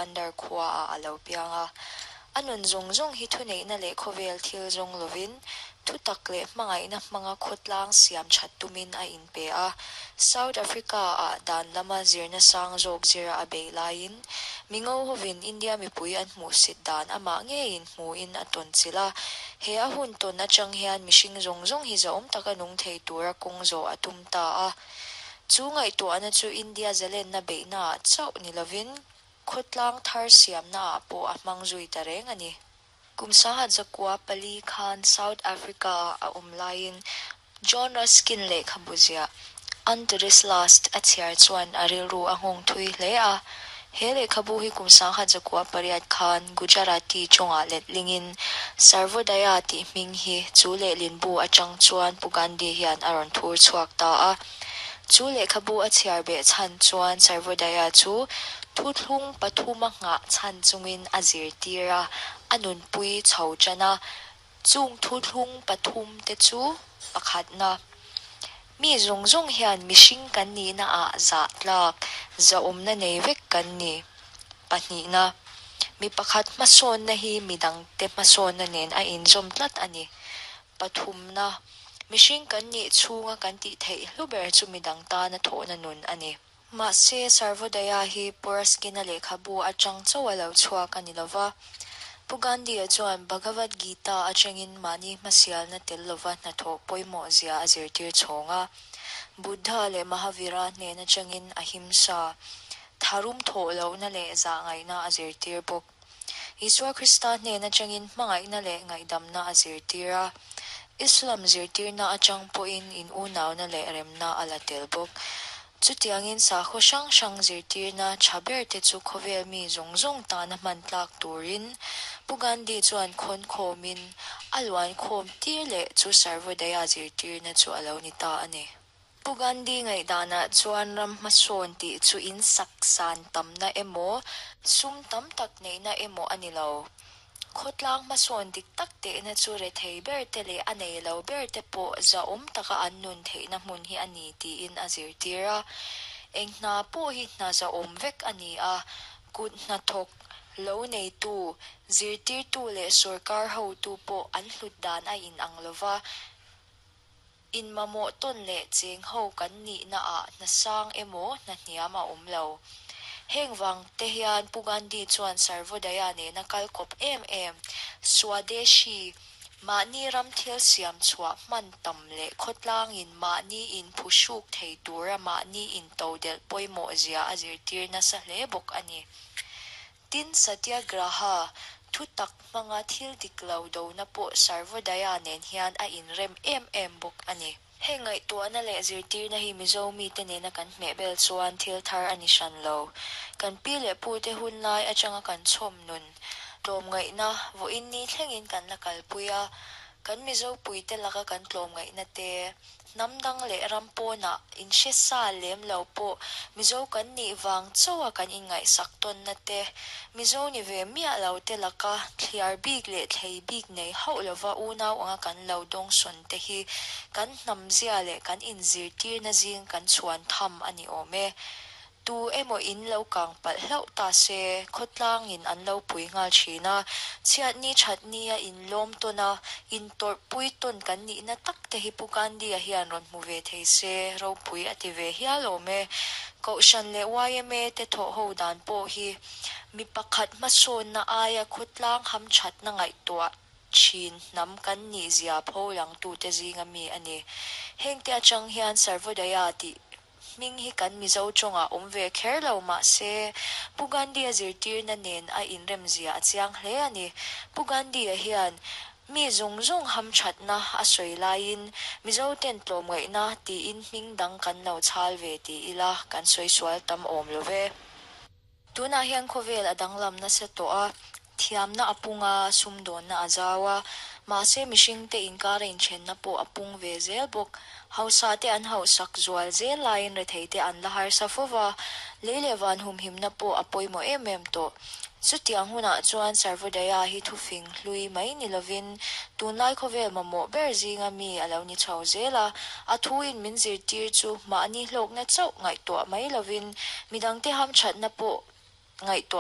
Bandar khuaah a lo piang a. A nun zawng zawng hi thuneihna leh khawvel thil zawng lovin, thutak leh hmangaihna hmanga khawtlang siam that tumin a inpe a. South Africa-ah dan lama zirna sang zawk zira a beih laiin, mingo hovin India mipui an hmuhsit dan amah ngeiin hmuin a tawn chilh a. He a hun tawn atang hian mihring zawng zawng hi zahawm taka nung thei tura kawng zawh a tum ta a. Chu ngaihtuahna chu India zalenna beihnaah chauh ni lovin, Khawtlang thar siamnaah pawh a hmang zui ta reng a ni. Kum 1904 khan South Africa-ah a awm laiin John Ruskin lehkhabu ziah Unto This Last a chhiar chuan a rilru a nghawng thui hle a. He lehkhabu hi kum 1908 khan Gujarati tawngah letlingin Sarvodaya tih hming hi chu lehlinbu atang chuan Pu Gandhi hian a rawn thur chhuak ta a. Chu lehkhabu a chhiar beh chhan chuan Sarvodaya chu thuthlung pathuma nghah chhan chungin a zirtir a, a nunpui chho tan a. Chung thuthlung pathum te chu pakhatna, Mi zawng zawng hian mihring kan nihna ah zah tlak, zahawmna nei vek kan ni. Pahnihna, Mi pakhat hmasawnna hi midangte hmasawnna nen a inzawm tlat a ni. Pathumna, Mihring kan nih chhunga kan tih theih hlu ber chu midang tana thawhna nun a ni. Mahse, Sarvodaya hi Puraskina lehkhabu atang chauh a lo chhuak a ni lo va. Pu Gandhi-a chuan Bhagavad Gita atangin mahni hmasialna tel lova hnathawh pawimawh zia a zirtir chhawng a. Buddha leh Mahavira hnen atangin ahimsa, tharum thawh lohna leh zahngaihna a zirtir bawk. Isua Krista hnen atangin hmangaihna leh ngaihdamna a zirtir a. Islam zirtirna atang pawhin in unauna leh remna a la tel bawk. Chutiangin sakhaw hrang hrang zirtirna tha berte chu khawvel mi zawng zawng tana hman tlak turin Pu Gandhi chuan khawn khawmin a luan khawm tir leh chu Sarvodaya zirtirna chu a lo ni ta a ni. Pu Gandhi ngaihdanah chuan ram hmasawn tih chu in sak san tamna emaw, sum tam tak neihna emaw a ni lo. Khawtlang hmasawn dik tak tehna chu rethei ber te leh a nei lo ber te pawh zahawm taka an nun theihna hmun hi a ni tiin a zirtir a. Eng hna pawh hi hna zahawm vek a ni a, kut hnathawk, lo neitu, zirtirtu leh sorkar hotu pawh an hlut dan a inang lo va. Inmamawh tawn leh cheng ho kan nihna ah hna sang emaw hna hniam a awm lo. Heng vang te hian Pu Gandhi chuan Sarvodaya nena kal kawp em em, Swadeshi, mahni ram thil siam chhuah hman tam leh khawtlangin mahni in phuhruk thei tura mahni in todelh pawimawh zia a zirtir nasa hle bawk a ni. Tin, Satyagraha, thutak hmanga thil dik lo dona pawh Sarvodaya nen hian a inrem em em bawk a ni. Heng ngaihtuahna leh zirtirna hi Mizo mite nena kan hmehbel chuan thil thar a ni hran lo. Kan pi leh pute hun lai atanga kan chhawm nun, tlawmngaihna, vawiin ni thlengin kan la kalpui a, kan Mizo puite laka kan tlawmngaihna te, Hnam dang leh ram pawnah inhre sa lem lo pawh Mizo kan nih vang chauha kan inngaihsak tawnna te, Mizo ni ve miah lo te laka thliar bik leh thlei bik nei hauh lova unau anga kan lo dawngsawn te hi kan hnamzia leh kan inzirtirna zing kan chhuan tham a ni awm e. Tu emaw in lo kang palh hlauh ta se, khawtlangin an lo pui nghal thin a, chhiatni thatni a inlawm tawn a, intawrhpui tawn kan nihna tak te hi Pu Gandhi-a hian rawn hmu ve thei se, ropui a ti ve hial awm e. Kohhran leh yma te thawh ho dan pawh hi mi pakhat hmasawnna aia khawtlang hamthatna ngaihtuah thin hnam kan nih zia pho langtute zinga mi a ni. Hengte atang hian Sarvodaya tih Hming hi kan Mizo tawngah awm ve kher lo mah se, Pu Gandhi-a zirtirna nen a inremzia a chiang hle a ni. Pu Gandhi-a hian mi zawng zawng hamthatna a sawi laiin Mizo ten tlawmngaihna tiin hming dang kan lo chhal ve ti ila kan sawi sual tam awm lo ve. Tunah hian khawvel a danglam nasa tawh a, thiamna a pung a, sumdawnna a zau a, mahse mihringte inkara inthenna pawh a pung ve zel bawk. Hausa te an hauhsak zual zel laiin retheite an la harsa fo va, lei leh van humhimna pawh a pawimawh em em tawh. Chutiang hunah chuan Sarvodaya hi thufing hlui mai ni lovin tunlai khawvel mamawh ber zinga mi a lo ni chho zel a, a thuin min zirtir chu mahni hlawkna chauh ngaihtuah mai lovin midangte hamthatna pawh ngaihtuah.